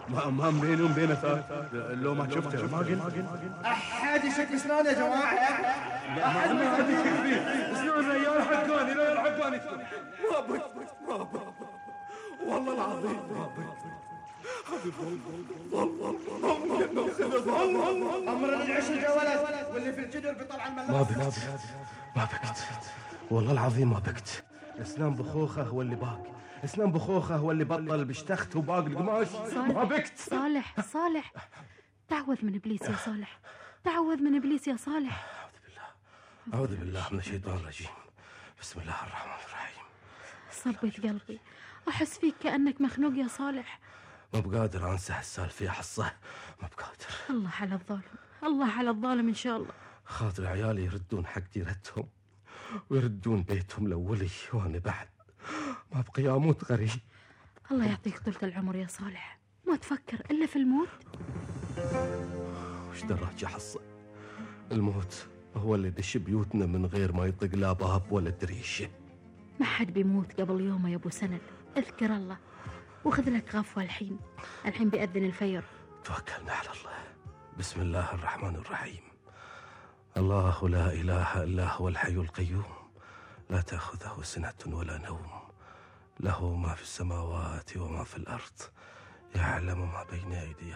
ما بيني وبينه لو ما شفته ما قلت. أحد يشك اسنان يا جماعة. ما حد يشك فيه. اسنان ريال حقاني ما بكت والله العظيم ما بكت. أمرنا نعيش الجولات واللي في الجدر بيطلع الملاس. ما بكت والله العظيم ما بكت. اسنان بخوخه هو اللي باق. اسنان بخوخه هو اللي بطل بشتخت وباق القماش. ما بكت. صالح تعوذ من إبليس يا صالح. تعوذ من إبليس يا صالح. أعوذ بالله من الشيطان الرجيم. بسم الله الرحمن الرحيم. صبت قلبي. أحس فيك كأنك مخنوق يا صالح. ما بقادر أنسى هالسالفة يا حصة. ما بقادر. الله على الظالم إن شاء الله. خاطر عيالي يردون حق ديرتهم ويردون بيتهم الأولي، وأنا بعد ما بقي أموت غريب. الله يعطيك طولة العمر يا صالح. ما تفكر إلا في الموت. وش دراك يا حصة؟ الموت هو اللي دش بيوتنا من غير ما يطق لا باب ولا دريشة. ما حد بيموت قبل يومه يا أبو سند. اذكر الله وخذ لك غفوة. الحين بيأذن الفجر. توكلنا على الله. بسم الله الرحمن الرحيم. الله لا إله إلا هو الحي القيوم لا تأخذه سنة ولا نوم، له ما في السماوات وما في الأرض، يعلم ما بين أيديهم